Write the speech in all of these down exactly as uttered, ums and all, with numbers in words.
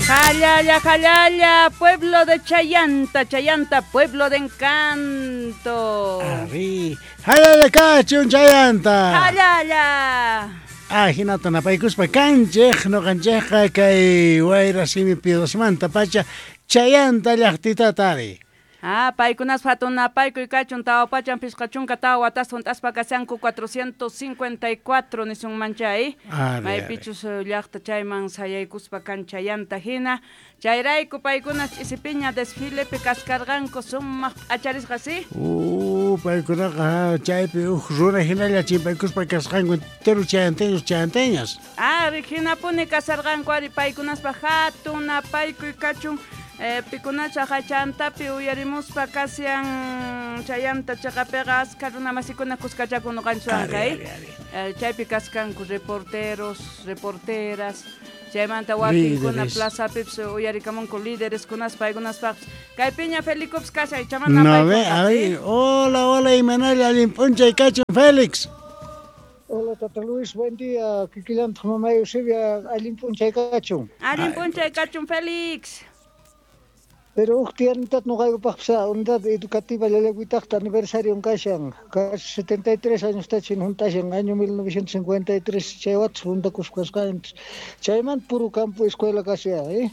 Jalala, jalala, pueblo de Chayanta, Chayanta, pueblo de encanto. Ari, jalala kachun Chayanta. Jalala. Ah, hinata napaykuspa kanchej, noqanchejqa kay wayra simi piedosmanta pacha Chayanta llaqtitata ari. Ah, paykunas hatun napaykuy kachun tawa pachan pishqa chunka tawa watas hunt'aspa kashanku cuatrocientos cincuenta y cuatro nisunman chay. Maypichus llaqta chayman sayaykuspa kan Chayanta hina. Chayrayku paykunas ch'isipiña desfilepi kaskarqanku sumaq p'acharisqa, ¿sí? Uh, paykunaqa chaypi huk runa hinalla chimpaykuspa kasqanku entero chayanteños chayanteñas. Ah, hinapuni kasarqanku ari paykunaspa hatun napaykuy kachun. Eh, pikunacha Chantapi uyarimuspa kasian Chayanta chaqapiqa askha runa masikuna kuskachakun nuqanchikwanqa, eh? Eh, chaypi kaskanku reporteros, reporteras, chaymanta wakinkuna plazapipis uyarikamunku líderes kunaspa paykunaspaqpis. Kaypiña Felikups kashan, chamana No, ve, a ver, hola, hola, imanalla, allin p'unchay kachun, Félix. Hola, Tata Luis, buen día. Kikillantaq mamá Eusebia, allin p'unchay kachun. Allin p'unchay kachun, Félix. Pero uj tiyanitata noqaykupaqpis unidad educativa Llallagüitaqta aniversario kashan, casi setenta y tres años tachin juntashan, año mil novecientos cincuenta y tres chay watas juntakuspa kasqanchis. Chaymanta puro campo escuela kasha, eh?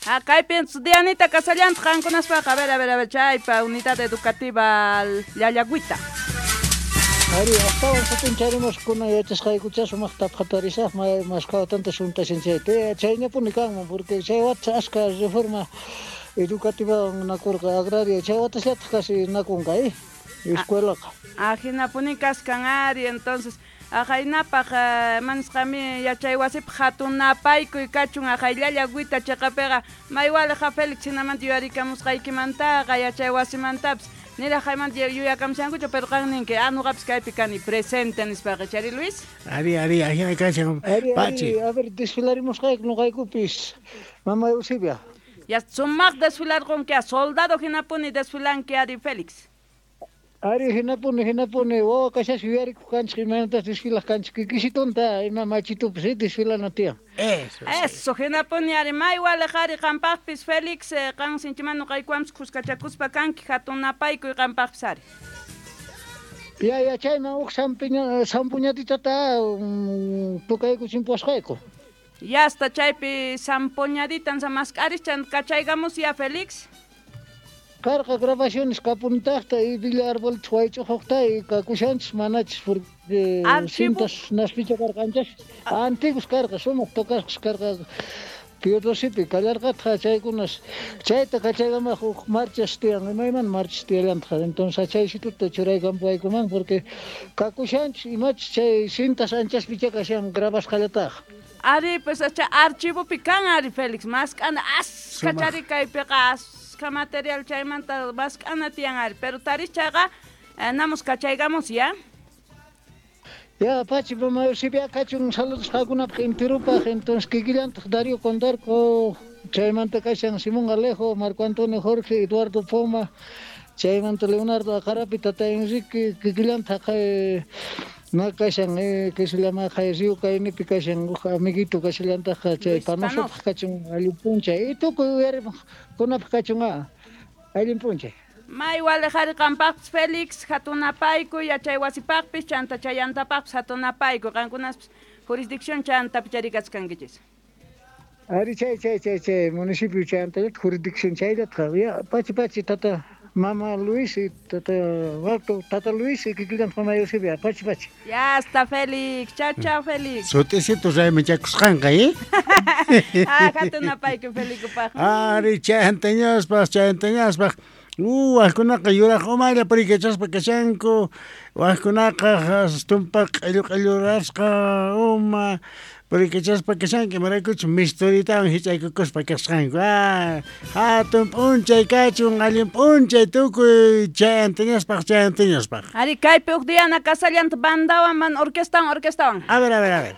Ah, kaypi Dianita kasallantaq qankunaspaqa. A ver, a ver, a ver, chaypa unidad educativa Llallagüita. Ari, astawan sutincharemos kuna yachasqaykucha sumaqta qhatarisaq masqawatanta juntashan chayta. Chayñapuni kanman porque chay watas aska reforma educativa nakurqa agraria chay watasllataq casi nakunqa, eh? Escuelaqa. Ah, hinapuni kaskan ari, entonces ahaynapaq manisqami yachay wasipaq hatun napaykuy kachun ahay Llallagüita chaqapiqa maywaliqa Félix hinamanta yuyarikamusqaykimantaqa yachay wasimantapis niraq haymanta yuyakamushankuchu pero qan ninki ah nuqapis kaypi kani presente nispaqa chari Luis. Ari, ari, ahina kashan pachi. A ver, desfilarimusqayku nuqaykupis mamá Eusebia. Ya sumaq desfilarqunki a soldado hinapuni desfilanki ari Félix. Ari hinapuni hinapuni wawa kashaspa yuyarikuq kanchik imaynatas desfilaq kanchik kikisitunta ima machitupis desfilana tiyan. Eso. Eso hinapuni ari maywaliq ari qampaqpis Félix qan sinchiman nuqaykuwanpis kuskachakuspa kanki hatun napaykuy qampaqpis ari. Ya, ya, chayman huk sampiña sampuñatitata tukaykuchimpusqayku. Ya hasta chaypi zampoñaditan samask'aris kachaykamus ya Félix. Karqa grabaciones kapunitaqta y Villa Arbolita waych'uqta y kakushanchis manachis porque cintas naspicha karqanchis. Antiguos karqa sumaq tocasqas karqa Piodosipi kallarqataq chaykunas chayta kachaykamaq huk marchas tiyan imayman marchas tiyallantaq entonces chaysituta churaykampuykuman porque kakushanchis imachis chay cintas anchaspicha kashan grabasqallataq. Ari, pues acha archivopi kan ari Félix, mask'ana askha chari kaypiqa askha material chaymanta mask'ana tiyan ari, pero taris chayqa namos kachaykamos ya. Ya, pachi, mamá Eusebia kachun saludos qakunapaq enterupaq, entonces kikillantaq Darío Condarco, chaymanta kashan Simón Alejo, Marco Antonio Jorge, Eduardo Poma, chaymanta Leonardo Acarapi, Tata Enrique, kikillantaq na kashan eh que se llama Río Kaynipi kashan huk amiguito kashallantaq chay panosopaq kachun allin p'unchay y tukuy uyarimuqkunapaq kachun ah allin p'unchay. Maywaliq ari qampaqpis Félix hatun napaykuy yachay wasipaqpis chanta chayantapaqpis hatun napaykuy qankunaspis jurisdicción chantapi charikachkankichis. Ari chay chay chay chay municipio chayantallata jurisdicción chayllataqa ya pachi pachi tata Mamá Luis y tata Walto, tata Luis y kikillantaq mamá Eusebia, pachi pachi. Ya está Félix, chao chao Félix. Sut'isitu raymichakusqanqa, eh? Ah, hatun napaykuy Felicupaq. Ari chayantañaspaq, chayantañaspaq. Uh, wajkunaqa yuraq umalla purikachaspa kashanku, wajkunaqa tumpa q'illu q'illurasqa uma purikachaspa kashanku, imaraykuchus misturitawan hich'aykukuspa kasqanku. Ah, hatun p'unchay kachun, allin p'unchay tukuy chayantañaspaq, chayantañaspaq. Ari kaypi huk Diana kasallanta bandawan man orquestawan, orquestawan. A ver, a ver, a ver.